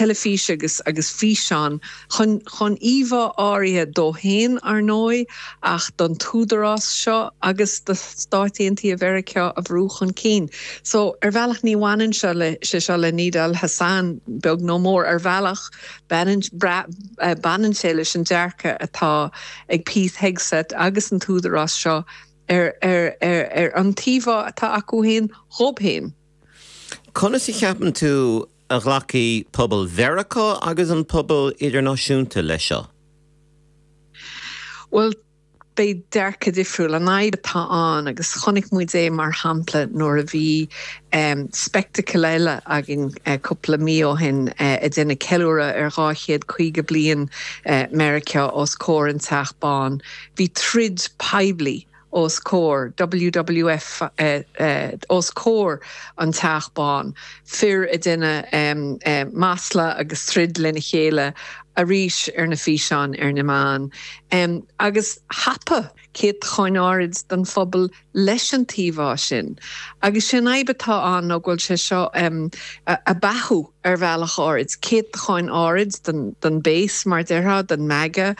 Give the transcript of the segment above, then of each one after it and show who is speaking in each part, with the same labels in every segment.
Speaker 1: Teilifíse agus agus físeán chun chun íomhá áirithe dó féin, ar ndóigh, ach don t-údarás seo agus do Stáit Aontaithe Mheiriceá a bhrú chun cinn. So, ar bhealach ní bhaineann seo le sé seo le Nidal Hasan, beag nó mór. Ar bhealach, baineann baineann sé leis an dearcadh atá ag Pete Hegseth agus an t-údarás seo ar ar ar ar an t-íomhá atá acu féin dhób féin.
Speaker 2: Conas a cheapann tú a ghlacfaidh pobal Mheiriceá agus an pobal idirnáisiúnta leis seo?
Speaker 1: Bhuel, beidh dearcadh difriúil. An fhadhb atá ann, agus chonaic muid é mar shampla nuair a bhí spectacle eile againn cúpla mí ó shin ag déanamh ceiliúradh ar 250 bliain Meiriceá os comhair an Teach Bán, bhí troid poiblí os comhair WWF os comhair an Teach Bán, fir ag déanamh masla agus troid lena chéile arís ar na físeáin ar na meáin. Agus thapaigh céatacháin áirid den phobal leis an t-íomhá sin. Agus sé an fhadhb atá ann ná go bhfuil sé seo ag beathú ar bhealach áirid, céatacháin áirid den base, mar déarfá, den MAGA,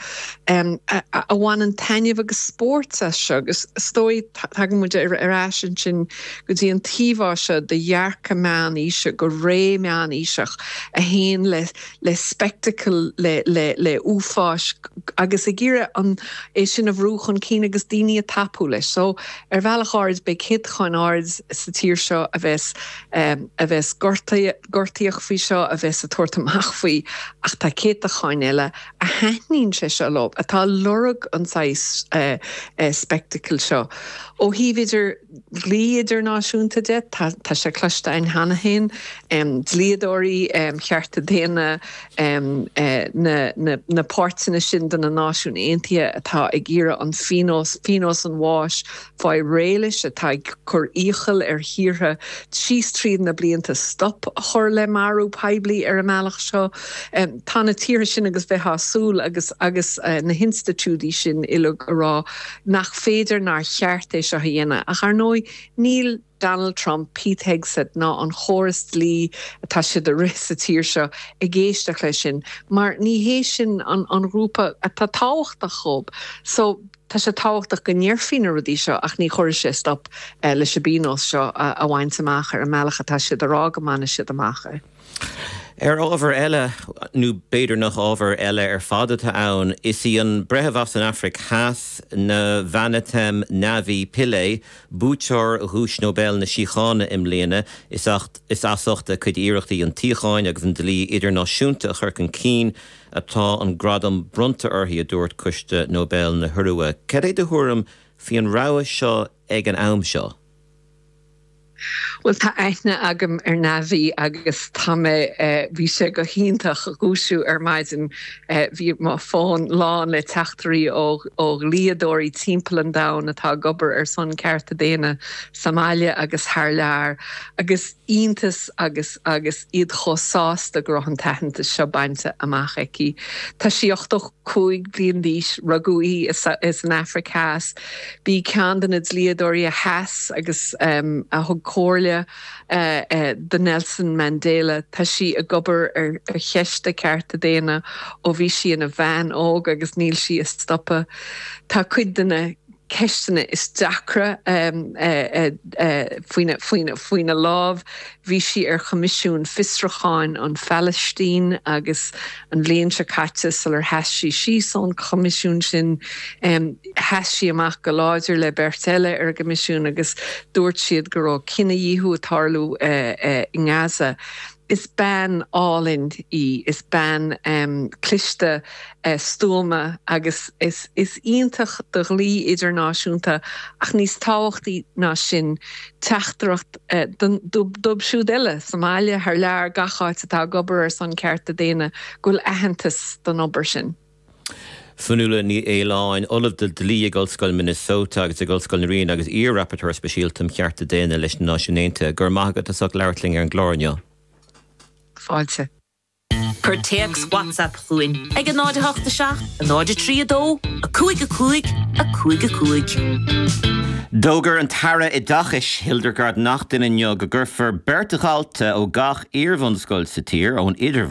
Speaker 1: a bhaineann taitneamh agus spórt as seo. Agus is dóigh, tagann muid ar ais ansin go dtí an t-íomhá seo de dhearcadh meánaoise, go ré meánaoiseach, a théann le le spectacle, le le le uafáis agus ag iarraidh an é sin a bhrú chun cinn agus daoine a tapú leis. So, ar bhealach áirid, beidh céatacháin áirid sa tír seo a bheas a bheas gortaíoch faoi seo, a bheas ag tabhairt amach faoi, ach tá céatacháin eile a thaitníonn sé seo leo, atá ag lorg an saghas spectacle seo. Ó thaobh idir dhlí idirnáisiúnta de, tá sé cloiste againn cheana féin, dlíodóirí chearta daonna, na páirteanna sin de na Náisiúin Aontaithe atá ag iarraidh an phionós, pionós an bháis, fáil réidh leis, atá ag cur iachall ar thíortha síos tríd na blianta stop a chur le marú poiblí ar an mbealach seo. Tá na tíortha sin agus bheifeá ag súil agus agus na hinstitiúidí sin uilig a rá nach féidir nár cheart é seo a dhéanamh. Ach ar ndóigh níl Donald Trump, Pete Hegseth ná an chóras dlí atá siad a rith sa tír seo ag éisteacht leis sin mar ní hé sin an an ghrúpa atá tábhachtach dhób. So tá sé tábhachtach go ndéarfaí na rudaí seo ach ní chuirfidh sé stop leis an bpionós seo a bhaint amach ar an mbealach atá siad a rá go mbainfidh siad amach é.
Speaker 2: Ar ábhar eile, nó b'fhéidir nach ábhar eile ar fad atá ann, is í an breitheamh as an Afraic Theas, Navanethem Navi Pillay, buaiteoir Dhuais Nobel na Síochána i mbliana, is as ucht a cuid iarrachtaí an tsíocháin agus an dlí idirnáisiúnta a chur chun cinn atá an gradam bronnta uirthi, a dúirt Coiste Nobel na hIorua. Cad é do thuairim faoi an rogha seo ag an am seo?
Speaker 1: Bhuel, tá aithne agam ar Navi agus tá mé, bhí sé go hiontach dhúisiú ar maidin, bhí mo fón lán le teachtairí ó dhlíodóirí timpeall an domhain atá ag obair ar son cearta daonna sa mbaile agus thar lear agus iontas agus agus iad chomh sásta go raibh an t-aitheantas seo bainte amach aici. Tá sí 85 bliain d'aois, rugadh í san Afraic Theas. B'í ceann de na dlíodóirí a sheas agus a thug comhairle do Nelson Mandela. Tá sí ag obair ar cheist cearta daonna ó bhí sí ina bhean óg agus níl sí ag stopadh. Tá cuid de na ceisteanna is deacra faoina lámh. Bhí sí ar Choimisiún Fiosrúcháin an Phalaistín agus an bhliain seo caite sular sheas sí síos ón choimisiún sin, Sheas sí amach go láidir le beirt eile ar an gcoimisiún agus dúirt siad go raibh cinedhíothú ag tarlú i nGaza. Is bean álainn í, is bean cliste, stuama agus is iontach do dhlí idirnáisiúnta ach níos tábhachtaí ná sin, teachtaireacht dóibh siúd eile sa mbaile, thar lear, gach áit atá ag obair ar son cearta daonna go bhfuil aitheantas don obair sin.
Speaker 2: Fionnuala Ní Aoláin, Ollamh de Dhlí ag Ollscoil Minnesota agus ag Ollscoil na Ríona agus iar-Rapporteur Speisialta um Chearta Daonna leis na Náisiúin Aontaithe. Go raibh maith agat as ucht labhairt linn ar an gclár inniu.
Speaker 1: Fáilte.
Speaker 3: Cuir téacs WhatsApp chugainn ag 0 8 7 0 3 2 5 5 5 5.
Speaker 2: D'fhógair an tAire Oideachais, Hildegarde Naughton inniu go gcuirfear beirt dhalta ó gach iarbhunscoil sa tír ón Idirbhliain.